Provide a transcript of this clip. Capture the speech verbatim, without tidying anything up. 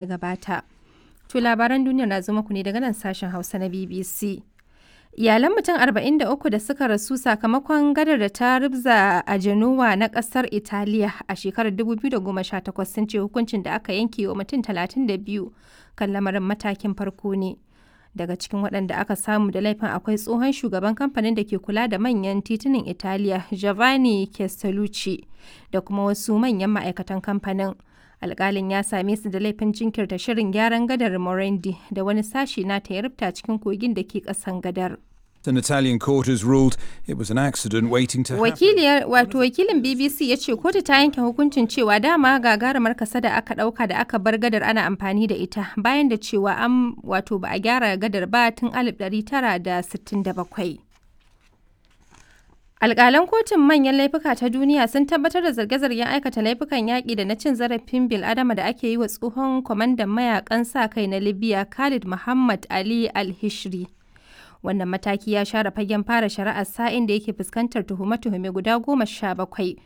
Gabata. To labaran duniyar na zo muku ne daga nan sashen Hausa na B B C. Iyalan mutum arba'in da uku da suka rasu sakamakon gadar da ta rubza a Genoa na kasar Italiya a shekarar dubu biyu da goma sha takwas sun ce hukuncin da aka yanke wa mutum talatin da biyu kan lamarin matakin farko ne. Daga cikin waɗanda aka samu da laifin akwai tsohon shugaban kamfanin da ke kula da manyan titunan Italiya, Giovanni Castellucci, da kuma wasu manyan ma'aikatan kamfanin. Alkalin ya same su da laifin jinkirta shirin gyaran gadar Morandi da wani sashi nata ya rubta cikin kogin da ke kasan gadar. An Italian court has ruled it was an accident waiting to happen. Wakiliyar wato wakilin B B C ya ce kotu ta yanke hukuncin cewa dama gagarumar kasada aka dauka da aka bar gadar ana amfani da ita, bayan da cewa an wato ba a gyara gadar ba tun alif ɗari tara da sittin da bakwai. Alƙalan Kotun Manyan Laifuka ta Duniya sun tabbatar da zarge-zargen aikata laifukan yaƙi da na cin zarafin bil'adama da ake yi wa tsohon kwamandan mayakan sa-kai na Libya, Khalid Mohammed Ali Al-Hishri. Wannan mataki ya share fagen fara shari'ar sa'in da yake fuskantar tuhume-tuhume guda goma sha bakwai.